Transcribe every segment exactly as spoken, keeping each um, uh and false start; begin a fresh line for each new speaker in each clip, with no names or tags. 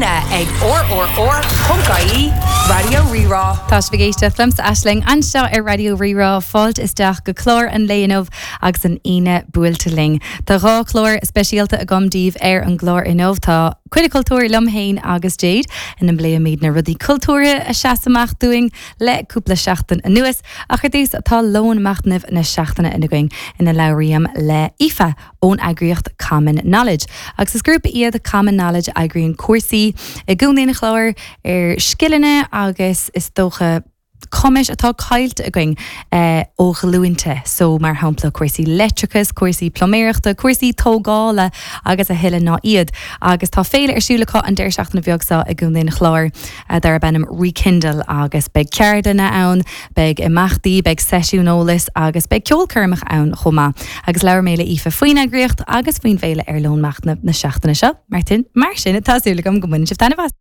líne ag rrr.ie Raidió Rí-Rá.
Tá sibh ag éisteacht liomsa Aisling anseo ar Raidió Rí-Rá fáilte isteach go clár an lae inniu agus an Aoine buailte linn. Tá dhá chlár speisialta agam daoibh ar an gclár inniu tá cuid cultúr liom féin agus Jade ina bpléimid na rudaí cultúrtha a sheas amach dúinn le cúpla seachtain anuas ach ar dtús tá lón machnaimh na seachtaine againn ina labhraím le Aoife ón eagraíocht Common Knowledge. Agus is grúpa iad Common Knowledge eagraíonn cúrsaí i gContae an Chláir ar scileanna agus is dócha cumais atá caillte againn eh, ó ghlúinte, so mar shampla cúrsaí leictreachais, cúrsaí pluiméireachta, cúrsaí tógála agus a thuilleadh ná iad. Agus tá féile ar siúl acu an deireadh seachtaine beag seo i gContae an Chláir eh, darb ainm Rekindle agus beidh ceardlanna ann, beidh imeachtaí, beidh seisiún eolais agus beidh ceolchoirmeacha ann chomh maith. Agus labhair mé le Aoife faoin eagraíocht agus faoin bhféile ar lón machnaimh na seachtaine seo. Martin mar sin tá súil agam go mbaineann sibh taitneamh as.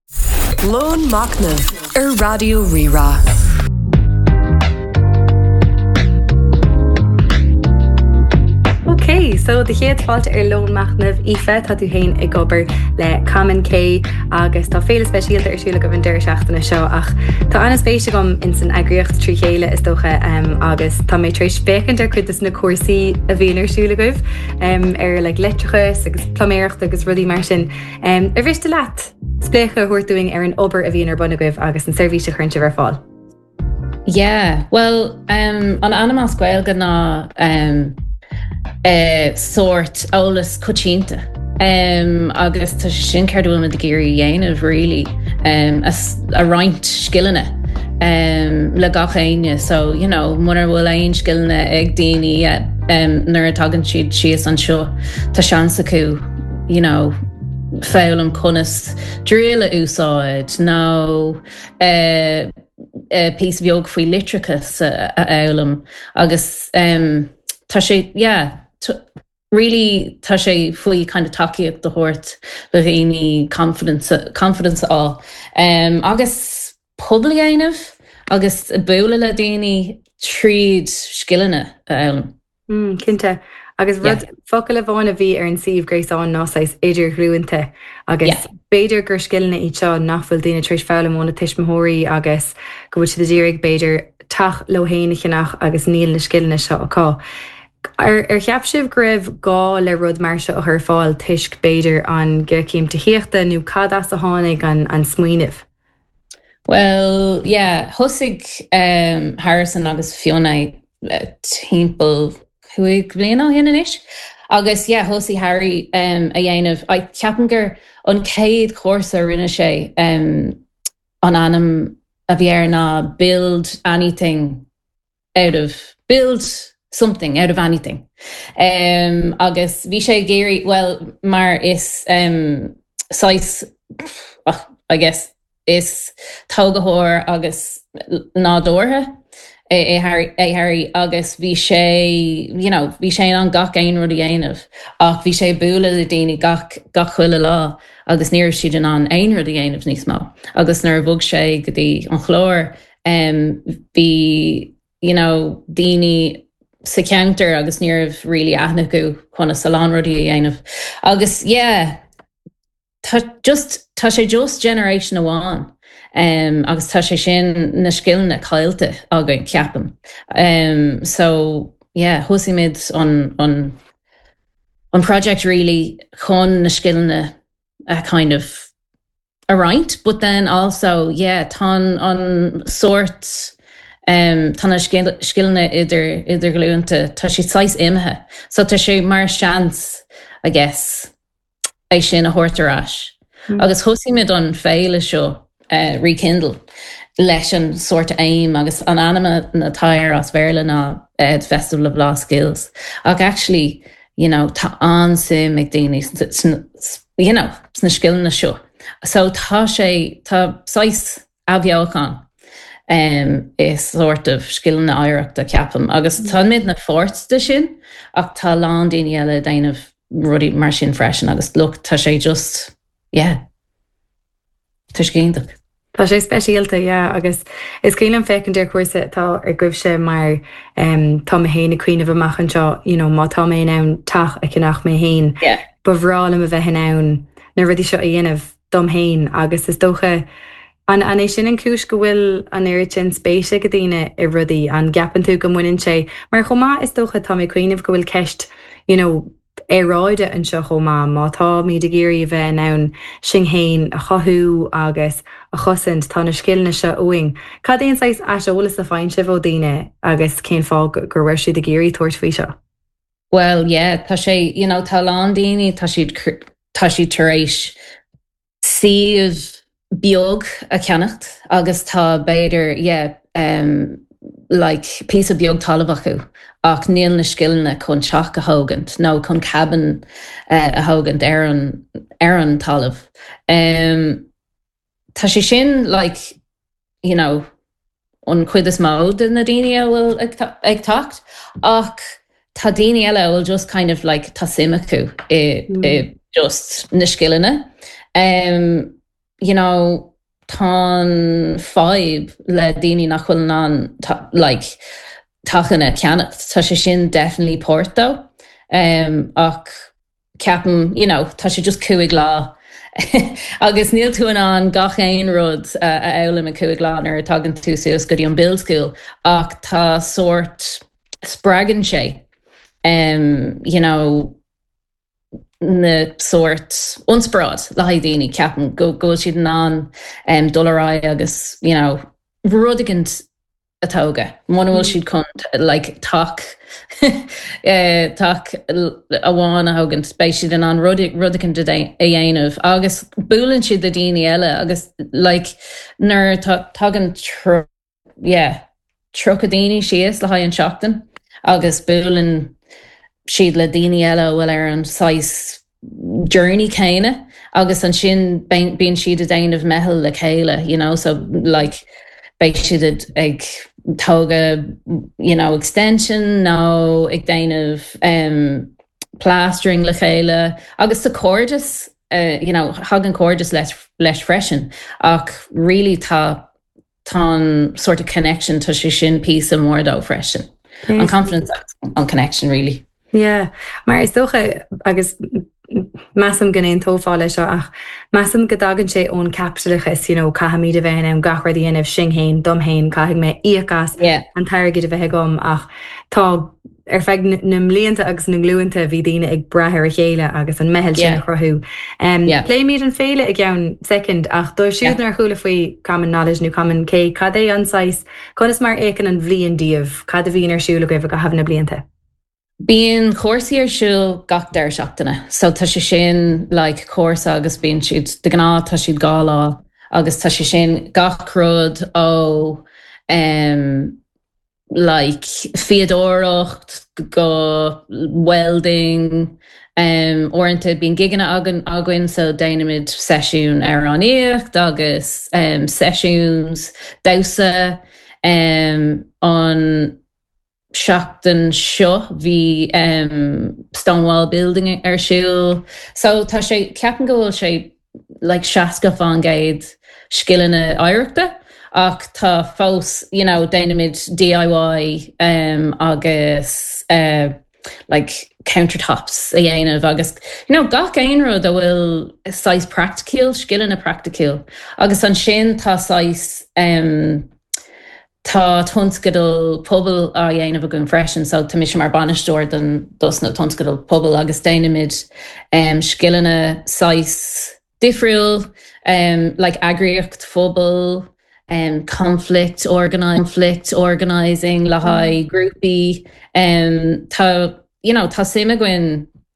Lón Machnaimh ar Raidió Rí-Rá.
Ok, so do chéad fáilte ar lón machnaimh Aoife tá tú féin ag obair le Common K agus tá féile speisialta ar siúl agaibh an deireadh seachtaine seo ach tá an-spéis agam in san eagraíocht trí chéile is dócha um, agus tá mé tar éis féachaint ar cuid de na cúrsaí a bhíonn ar siúl agaibh um, ar le leictreachas agus pluiméireacht agus rudaí mar sin. Um, ar mhiste leat spléachadh a thabhairt dúinn ar an obair a bhíonn ar bun agaibh agus an seirbhís a chuireann sibh ar fáil.
Yeah, well um, an ainm as Gaeilge ná um, uh, sórt eolas coitianta. Um, agus tá sé sin céard a bhfuil ag iarraidh a dhéanamh really um, a, a roinnt scileanna um, le gach éinne so you know mura bhfuil aon scileanna ag daoine um, nuair a tagann siad síos anseo tá seans acu you know foghlaim conas drill a úsáid nó uh, uh, píosa beag faoi leictreachas a, a fhoghlaim agus um, tá sé yeah, really tá sé faoi kind of tacaíocht a thabhairt le daoine confidence confidence á um, agus pobal a dhéanamh agus bualadh le daoine tríd scileanna a fhoghlaim.
Mm, cinnte. Agus rud yeah. focal amháin a bhí ar an suíomh gréasáin ná saghas idirghlúinte agus yeah. b'fhéidir gur scileanna iad seo nach bhfuil daoine tar éis foghlaim óna tuismitheoirí agus go bhfuil siad ag iarraidh b'fhéidir teach leo féin a cheannach agus níl na scileanna seo acu. Ar, ar cheap sibh go raibh gá le rud mar seo a chur ar fáil toisc b'fhéidir an ghéarchéim tithíochta nó cad as a tháinig an, an smaoineamh?
Well, yeah, thosaigh um, Harrison agus Fiona uh, timpeall cúig bliana ó shin anois. Agus yeah, thosaigh Harry um, a dhéanamh I ceapaim gur an chéad chúrsa a rinne sé um, an ainm a bhí air ná build anything out of build something out of anything. Um, agus bhí sé ag iarraidh well mar is um, saghas I guess is tógaitheoir agus nádúrtha é é é Harry agus bhí sé you know, bhí sé an gach aon rud a dhéanamh ach bhí sé bualadh le daoine gach gach chuile lá agus ní raibh siad in ann aon rud a dhéanamh níos mó. Agus nuair a bhog sé go dtí an Clár um, bhí you know, daoine sa cheantar agus ní raibh really aithne acu conas a lán rudaí a dhéanamh. Agus yeah, tá just tá sé just generation amháin. Um, agus tá sé sin na scileanna caillte againn ceapaim. Um, so yeah, thosaigh an, an, an project really chun na scileanna a kind of a roinnt, but then also yeah, tá an sórt um, tá na scileanna idir idirghlúinte tá sé saghas imithe, so tá sé mar seans I guess é sin a thabhairt ar ais. Mm. Agus thosaigh muid an féile seo uh, Rekindle leis an sórt aim agus an ainm atá air as Béarla ná uh, the Festival of Lost Skills. Ach actually, you know, tá an-suim ag daoine you know, sna scileanna seo. So tá sé tá saghas athbheochan um, is sort of scileanna oidhreachta ceapaim. Agus mm. tá muid ina pháirt de sin ach tá lán daoine eile ag déanamh rudaí mar sin freisin agus look tá sé just yeah. Tá sé iontach.
Tá sé speisialta yeah, agus is cuimhin liom féachaint ar chúrsa atá agaibhse mar um, tá mé féin ag cuimhneamh amach anseo you know, má tá mé in ann teach a cheannach mé féin.
Yeah.
Ba bhreá liom a bheith in ann na rudaí seo a dhéanamh dom féin agus is dócha an an é sin an cúis go bhfuil an oiread sin spéise ag daoine i rudaí an gceapann tú go mbaineann sé mar chomh maith is dócha tá mé ag cuimhneamh go bhfuil ceist you know, aeráide anseo chomh maith má táimid ag iarraidh a bheith in ann sinn féin a chothú agus a chosaint tá na scileanna seo uainn. Cad é an saghas aiseolas a fhaigheann sibh ó daoine agus cén fáth go bhfuil siad ag iarraidh tabhairt faoi seo.
Well yeah, tá sé you know, tá lán daoine tá siad tá siad tar éis suíomh beag a cheannacht agus tá b'fhéidir yeah, um, like píosa beag talamh acu ach níl na scileanna chun teach a thógaint nó chun cabin uh, a thógaint ar an ar an talamh. Um, tá sé sin like you know, an chuid is mó de na daoine a bhfuil ag ag teacht ach tá daoine eile bhfuil just kind of like tá suim acu i, mm. i just na scileanna. Um, you know, tá fadhb le daoine nach bhfuil an like teachanna ceannacht Tá sé sin definitely páirt dó um, ach ceapaim you know, tá sé just cúig lá agus níl tú in ann gach aon rud uh, a fhoghlaim i cúig lá nuair tagann tú suas go dtí an build school ach tá sort spreagann sé um, you know, na sort inspioráid le haghaidh daoine ceapaim go go siad in ann um, dul ar aghaidh agus you know, rud éigin a thógáil. Muna bhfuil siad chun like, teach eh, teach amháin a thógaint beidh siad in ann rud rud éigin a dhéanamh agus buaileann siad le daoine eile agus like, nuair tagann yeah, tríocha daoine síos le haghaidh an seachtain agus buaileann siad le daoine eile bhfuil ar an saghas journey céanna agus ansin bíonn siad ag déanamh meitheal le chéile you know so like beidh siad ag tógáil you know extension nó ag déanamh um, plastering le chéile agus sa cairdeas uh, you know tagann cairdeas leis, leis freisin ach really tá tá sort of connection tá sé sin píosa mór dó freisin. An confidence an connection really.
Yeah, mar is dócha agus measaim go n-aontófá leis seo ach measaim go dtagann sé ón capitalachas you know, caithfimid a bheith an gach rud a dhéanamh sin féin dom féin caithfidh mé íoc as
yeah.
an t-airgead a bheith agam ach tá ar feadh na mblianta agus na nglúnta bhí daoine ag brath ar a chéile agus an meitheal sin a chruthú. Um,
Yeah.
Pléimid an féile i gceann second ach dóibh siúd
Yeah.
nár chuala faoi Common Knowledge nó Common K, cad é an saghas conas mar a fhéachann an bhliain daoibh, cad a bhíonn ar siúl agaibh i gcaitheamh na blianta.
Bíonn cúrsaí ar siúl gach deireadh seachtaine, so tá sé sin like, cúrsa agus bíonn siad de ghnáth tá siad dhá lá agus tá sé sin gach rud ó um, like fíodóireacht go welding um, uaireanta bíonn gigeanna againn againn so déanaimid seisiún amhránaíocht agus um, sessions damhsa um, an seachtain seo bhí um, Stonewall Building ar siúl. So tá sé ceapaim go bhfuil sé like seasca faoin gcéad scileanna oidhreachta ach tá fós you know, déanaimid DIY um, agus uh, like countertops a dhéanamh agus you know, gach aon rud a bhfuil saghas praiticiúil scileanna praiticiúil agus ansin tá saghas um, Tá tionscadal pobail á dhéanamh againn freisin, so tá mise mar bainisteoir den dos na tionscadal pobail agus déanaimid um, scileanna saghas difriúil um, like eagraíocht phobail, um, conflict organi conflict organizing le haghaidh grúpaí um, tá you know, tá suim againn